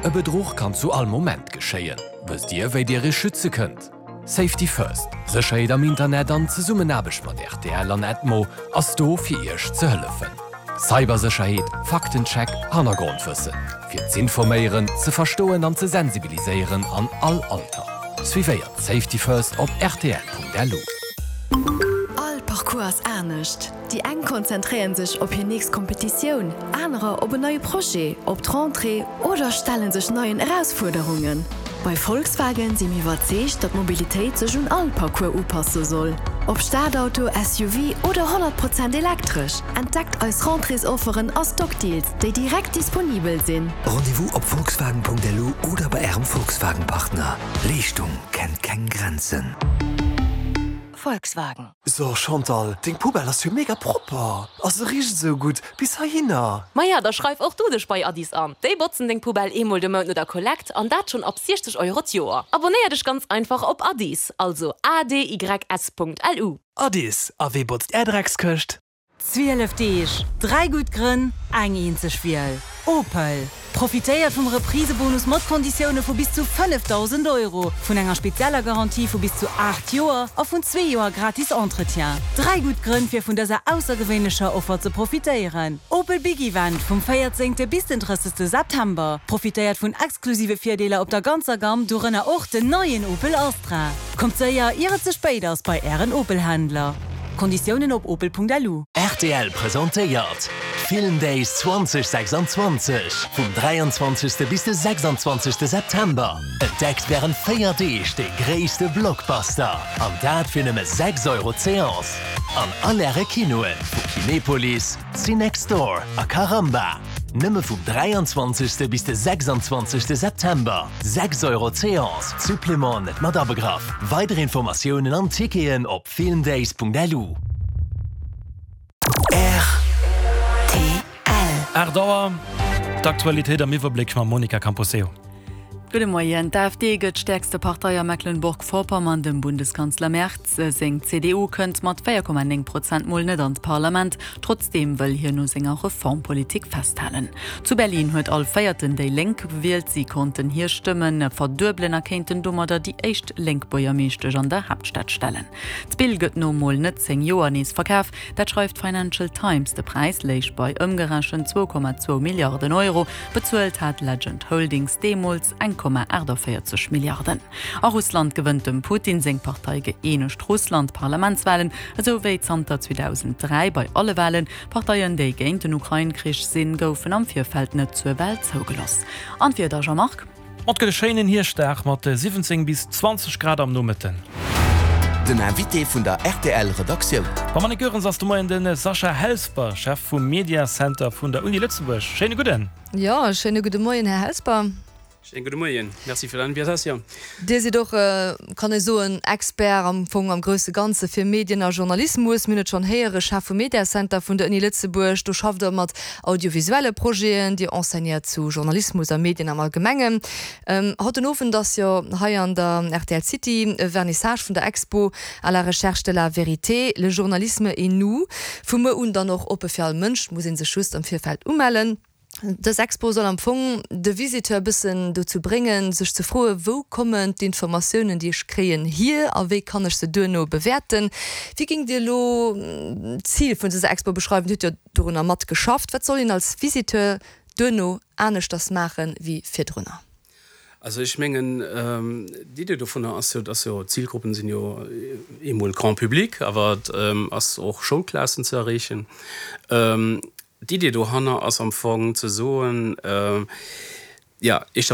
E Bedruch kann zu all Moment geschéien. Wësst Dir, wéi Dir Iech schütze kënnt? Safety First, Sécherheet am Internet an Zesummenaarbecht mat rtl an Edmo ass do fir Iech ze hëllefen. Cybersécherheet, Faktencheck, Hannergrondwëssen. Fir z'informéieren, ze verstoen an ze sensibiliséieren an all Alter. Suivéiert Safety First op rtl.lu. All Parcours ass anescht. Déi eng konzentréieren sech op hir nächst Kompetitioun, anerer op en neie Projet, op d'Rentrée oder stelle sech neien Erausfuerderungen. Bei Volkswagen si mir iwwerzeegt, datt d'Mobilitéit sech un all Parcours upasse soll. Ob Stadauto, SUV oder 100 Prozent elektresch, entdeckt eis Rentréesofferen a Stockdeals, déi direkt disponibel sinn. Rendez-vous op volkswagen.lu oder bei Ärem Volkswagen-Partner. Leeschtung kennt keng Grenzen. Volkswagen. So Chantal, deng Poubelle ass jo mega propper a se richt esou gutt bis heihinner. Maja, da schreif och du dech bei Addis an. Déi botzen deng Poubelle eemol de Mount no der Kollekt an dat schonn ab 60 Euro d'Joer. Abonéier dech ganz einfach op Addis, also adys.lu. Addis, a wee botzt är Dreckskëscht? 12 Deeg, 3 gutt Grënn, eng eenzeg Wiel, Opel. Profitéiert vum Reprisebonus mat Konditioune vu bis zu 5.000 Euro, vun enger spezieller Garantie vu bis zu 8 Joer a vun zwee Joer gratis Entretien. 3 gutt Grënn fir vun dëser aussergewéinlecher Offer ze profitéieren. Opel Big Event vum 14 bis den 30 September. Profitéiert vun exklusive Virdeeler op der ganzer Gamm, dorënner och den neien Opel Astra. Kommt séier, ier et ze spéit ass, bei Ären Opel-Händler. Konditiounen op opel.lu. Rtl presentéiert d'Film Days 2026 vum 23. Bis de 26. September. Entdeckt wärend 4 Deeg de gréisste Blockbuster an dat fir nëmme 6 Euro d'Seance an all Äre Kinoen vu Kinepolis, Cinextdoor a Caramba. Nëmme vum 23. Bis de 26. September. 6 Euro d'Seance, Supplément net mat abegraff. Weider Informatiounen an Ticketen op filmdays.lu. Rtl. 8 Auer, d'Aktualitéit am Iwwerbléck mam Monica Camposeo. Gudde Moien. D'AfD gëtt stäerkste Partei a Mecklenburg-Vorpommern. Dem Bundeskanzler Merz seng CDU kënnt mat 4,9 Prozent mol net an d'Parlament. Trotzdeem wëll hien u senger Reformpolitik festhalen. Zu Berlin huet all Véierten déi Lénk gewielt. Si konnten hir Stëmme verduebelen a kéinten domadder déi éischt lénk Buergermeeschtesch an der Haaptstad stellen. D'Spill gëtt no mol net 10 Joer nees verkaf, dat schreift d'Financial Times. De Präis léich bei ëmgerechent 2,2 Milliarden Euro. Bezuelt hat Legend Holdings deemools 1,48 Milliarden. A Russland gewënnt dem Putin seng Partei Gëeenegt Russland d'Parlamentswalen, esou wéi zanter 2003 bei alle Walen. Parteien, déi géint den Ukrain-Krich sinn, goufen am Virfeld net zur Wal zougeloss. An d'Wieder, Jean-Marc? Et gëtt e schéinen Hierschtdag mat 17 bis 20 Grad am Nomëtten. Den Invité vun der rtl Redaktioun. Beim Annick Goerens ass de Moien de Sascha Helsper, Chef vum Media Center vun der Uni Lëtzebuerg. Schéine gudden. Jo, schéine gudde Moien, Här Helsper. Schéinen gudde Moien. Merci fir d'Invitatioun. Dir sidd och, kann ee soen, Expert am Fong am grousse Ganze fir Medien a Journalismus. Mir hunn et schonn héieren, Chef vum Mediacenter vun der Uni Lëtzebuerg. Do schafft Der mat audiovisuelle Projeten, Dir enseignéiert zu Journalismus a Medien am Allgemengen. Haut den Owend ass jo hei an der rtl City e Vernissage vun der Expo À la recherche de la vérité, le journalisme et nous. Vu muer un dann och oppe fir all Mënsch, muss ee sech just am Virfeld umellen. Dës Expo soll am Fong de Visiteur e bëssen dozou bréngen, sech ze froen, Wou kommen d'Informatiounen, déi ech kréien, hier a wéi kann ech se duerno bewäerten? Wéi géingt Dir elo d'Zil vun dëser Expo beschreiwen? Dir hutt jo dorunner matgeschafft. Wat soll een als Visiteur duerno aneschters maachen, wéi virdrunner? Also ech mengen, d'Idee dovunner ass jo, dass jo d'Zilgruppen sinn jo eemol Grand public, awer et ass och Schoulklassen ze erreechen. D'Idee dohanner ass am Fong ze soen, jo, éischter emol.